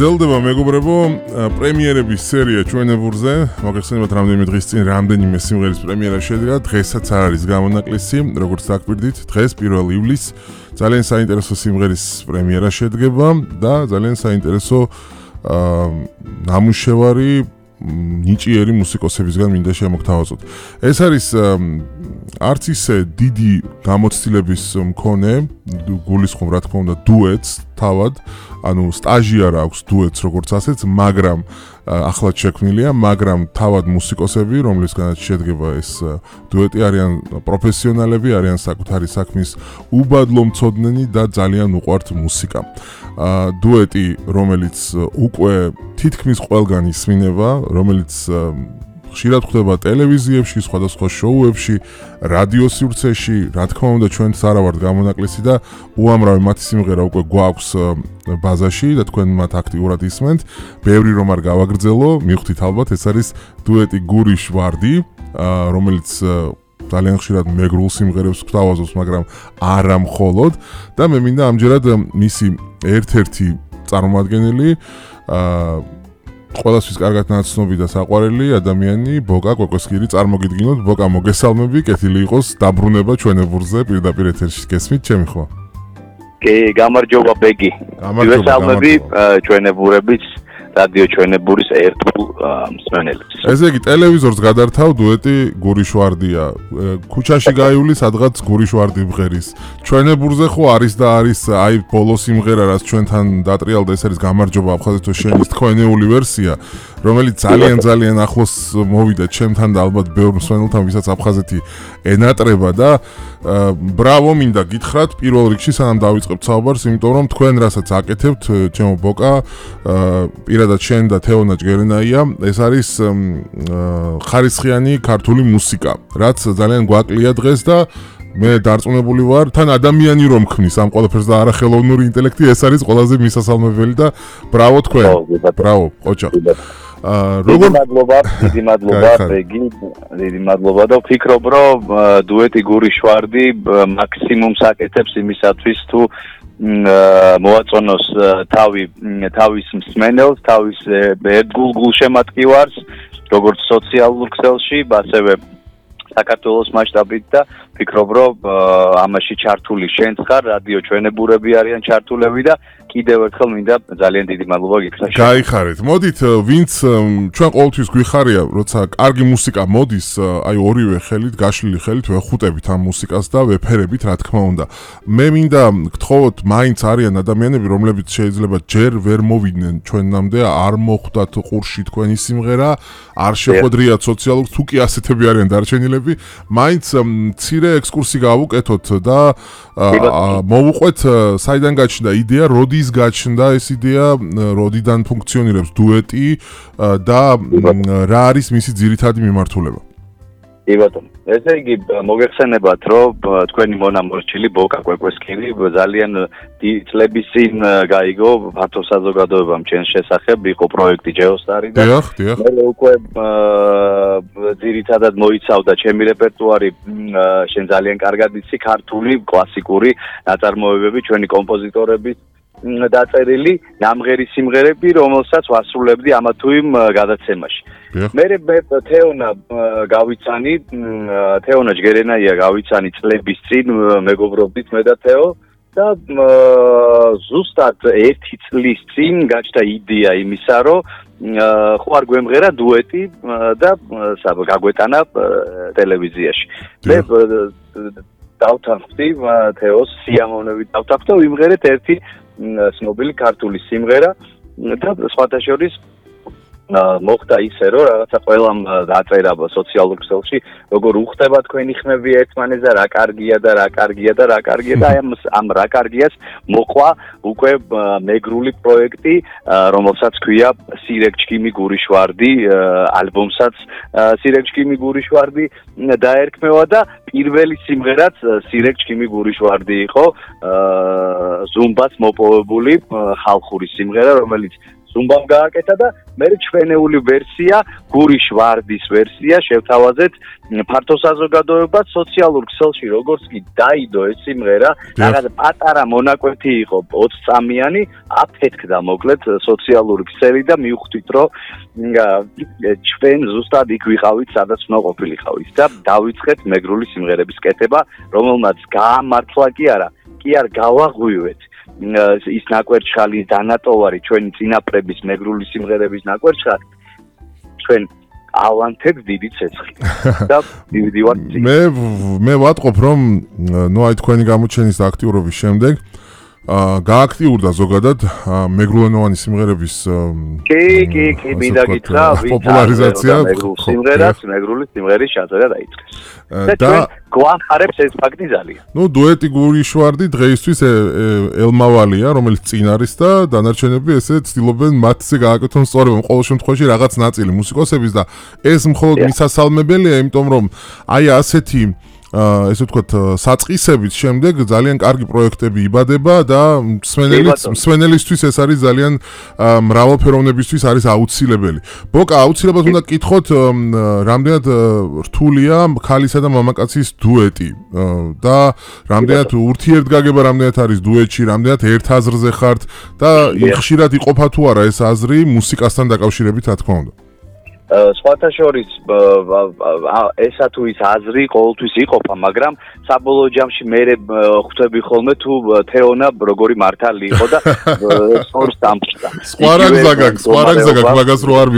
გრძელდება მეგობრებო პრემიერების სერია ჩვენებურზე. მოგეხსენებათ რამდენიმე დღის წინ რამდენიმე სიმღერის პრემიერა შედგა. დღესაც არ არის გამონაკლისი, როგორც დაგვირდით, დღეს 1 ივლისს ძალიან საინტერესო სიმღერის პრემიერა შედგება და ძალიან საინტერესო ნამუშევარი ნიჭიერი მუსიკოსებისგან მინდა შემოგთავაზოთ. ეს არის არც ისე დიდი გამოცდილების მქონე, გულისხმობ რა თქმა უნდა დუეტს თავად, ანუ სტაჟი არ აქვს დუეტს როგორც ასეც, მაგრამ ახლად შექმნილია, მაგრამ თავად მუსიკოსები, რომლისგანაც შედგება ეს დუეტი არიან პროფესიონალები, არიან საკუთარი საქმის უბადლო მცოდნენი და ძალიან უყვართ მუსიკა. დუეტი, რომელიც უკვე თითქმის ყველგან ისმინება, რომელიც ხშირად ხდება ტელევიზიებში, სხვადასხვა შოუებში, რადიო სივრცეში, რა თქმა უნდა ჩვენც არა ვართ გამონაკლისი და უამრავი მათი სიმღერა უკვე გვაქვს ბაზაში და თქვენ მათ აქტიურად ისმენთ. ბევრი რომ არ გავაგრძელო, მივხვდით ალბათ ეს არის დუეტი გურიშ ვარდი, რომელიც ძალიან ხშირად მეგრულ სიმღერებს გვთავაზობს, მაგრამ არა მხოლოდ და მე მინდა ამჯერად მისი ერთ-ერთი წარმომადგენელი ყველასთვის კარგად ნაცნობი და საყვარელი ადამიანი ბოკა კვეკვესკირი წარმოგიდგინოთ. ბოკა მოგესალმები, კეთილი იყოს დაბრუნება ჩვენებურზე პირდაპირ ეთერში გესმით ჩემი ხო? კი, გამარჯობა ბეგი. მოგესალმები ჩვენებურების რადიო ჩვენებურის ერთგულ მსმენელებს. ესე იგი ტელევიზორს გადართავ დუეტი გურიშვარდია. ქუჩაში გაივლი სადღაც გურიშვარდი მღერის. ჩვენებურზე ხო არის და არის აი ბოლო სიმღერა რაც ჩვენთან დატრიალდა, ეს არის გამარჯობა აფხაზეთო შენის თქვენეული ვერსია, რომელიც ძალიან ახლოს მოვიდა ჩემთან და ალბათ ბევრ მსმენელთან, ვისაც აფხაზეთი ენატრება და ბრავო მინდა გითხრათ პირველ რიგში სანამ დავიწყებთ საუბარს, იმიტომ რომ თქვენ რასაც აკეთებთ, ჩემო ბოკა, პირადად შენ და თეონა ჯგერენაია, ეს არის ხარისხიანი ქართული მუსიკა, რაც ძალიან გვაკლია დღეს და მე დარწმუნებული ვარ, თან ადამიანი რომ ქმნის ამ ყველაფერს და არა ხელოვნური ინტელექტი, ეს არის ყველაზე მისასალმებელი და ბრავო თქვენ. ბრავო, ოჯახ. დიდი მადლობა, ბეგი, დიდი მადლობა და ვფიქრობ, რომ დუეტი გურიშვარდი მაქსიმუმს აკეთებს იმისათვის თუ მოაწონოს თავის მსმენელს, თავის ერთგულ გულშემატკივარს, როგორც სოციალურ ქსელში, ასევე საქართველოს მასშტაბით და ვფიქრობ, რომ ამაში ჩართული შენც ხარ, რადიო ჩვენებურები არიან ჩართულები და კიდევ ერთხელ მინდა ძალიან დიდი მადლობა გითხრათ. გაიხარეთ. მოდით, ვინც ჩვენ ყოველთვის გვიხარია, როცა კარგი მუსიკა მოდის, აი ორივე ხელით, გაშლილი ხელით ვეხუტებით ამ მუსიკას და ვეფერებით, რა თქმა უნდა. მე მინდა გთხოვოთ, მაინც არიან ადამიანები, რომლებიც შეიძლება ჯერ ვერ მოვიდნენ ჩვენამდე, არ მოხვდათ ყურში თქვენი სიმღერა, არ შეხვედრიათ სოციალურ, თუ კი ასეთები არიან დარჩენილები, მაინც მცირე ექსკურსი გავუკეთოთ და მოვუყვეთ საიდან გაჩნდა იდეა, როდის გაჩნდა ეს იდეა, როდიდან ფუნქციონირებს დუეტი და რა არის მისი ძირითადი მიმართულება. კი ბატონო. ესე იგი მოგეხსენებათ, რომ თქვენი მონამორჩილი ბოკა კვეკვესკირი ძალიან წლების წინ გაიგო ფართო საზოგადოებამ ჩემს შესახებ, იყო პროექტი ჯეოსტარი და მე უკვე ძირითადად მოიცავდა ჩემი რეპერტუარი, შენ ძალიან კარგად იცი ქართული კლასიკური ნაწარმოებები, ჩვენი კომპოზიტორების დაწერილი ნამღერი სიმღერები, რომელსაც ვასრულებდი ამა თუ იმ გადაცემაში. მე თეონა გავიცანი, თეონა ჯგერენაია გავიცანი წლების წინ მეგობრობდით მე და თეო და ზუსტად 1 წლის წინ გაჩნდა იდეა იმისა, რომ ხო არ გვემღერა დუეტი და გაგვეტანა ტელევიზიაში. მე დავთანხმდი თეოს სიამოვნებით დავთანხმდი და ვიმღერეთ ერთი ცნობილი ქართული სიმღერა და სხვათა შორის მოხდა ისე, რომ რაღაცა ყველამ დაწერა სოციალურ ქსელში, როგორ უხდება თქვენი ხმები ერთმანეთს და რა კარგია და რა კარგია და რა კარგია და ამ რა კარგიას მოყვა უკვე მეგრული პროექტი, რომელსაც ქვია სირეგჩკიმი გურიშვარდი, ალბომსაც სირეგჩკიმი გურიშვარდი დაერქმევა და პირველი სიმღერაც სირეგჩკიმი გურიშვარდი იყო, ზუმბას მოპოვებული ხალხური სიმღერა, რომელიც ზუმბამ გააკეთა და მე ჩვენეული ვერსია, გურიშ ვარდის ვერსია შევთავაზეთ ფართო საზოგადოებას სოციალურ ქსელში როგორც კი დაიდო ეს სიმღერა, რაღაც პატარა მონაკვეთი იყო 20 წამიანი, აფეთქდა მოკლედ სოციალური ქსელი და მივხვდით რომ ჩვენ ზუსტად იქ ვიყავით, სადაც უნდა ყოფილიყავით და დავიწყეთ მეგრული სიმღერების კეთება, რომელმაც გაამართლა კი არა გავაღვივეთ ის ნაკვერჩხალის დანატოვარი ჩვენი წინაპრების მეგრული სიმღერების ნაკვერჩხალი ჩვენ ავანთებს დიდი ცეცხლი და მივდივართ მე ვატყობ რომ ნუ აი თქვენი გამოჩენის და აქტიურობის შემდეგ გააქტიურდა ზოგადად მეგრულენოვანი სიმღერების კი მინდა გითხრა პოპულარიზაცია მეგრული სიმღერის ჩაწერა დაიწყეს და გვახარებს ეს ფაქტი ძალიან. ნუ დუეტი გურიშვარდი დღეისთვის ელმავალია, რომელიც წინ არის და დანარჩენები ესე ცდილობენ მათზე გააკეთონ სწორება ყოველ შემთხვევაში რაღაც ნაწილი მუსიკოსების და ეს მხოლოდ მისასალმებელია, იმიტომ რომ აი ასეთი ესე ვთქვათ საწყისებით შემდეგ ძალიან კარგი პროექტები იბადება და მსმენელისთვის ეს არის ძალიან მრავალფეროვნებისთვის არის აუცილებელი. ბოკა აუცილებლად უნდა გკითხოთ რამდენად რთულია ქალისა და მამაკაცის დუეტი და რამდენად ურთიერთგაგება რამდენად არის დუეტში, რამდენად ერთ აზრზე ხართ და ხშირად იყოფა თუ არა ეს აზრი მუსიკასთან დაკავშირებით რა თქმა უნდა. სხვათა შორის ესა თუ ის აზრი ყოველთვის იყოფა, მაგრამ საბოლოო ჯამში მე ხვდები ხოლმე თუ თეონა როგორი მართალი იყო და სწორს დამჭდა. სხვა რაგზაგაკ, მაგას რო არ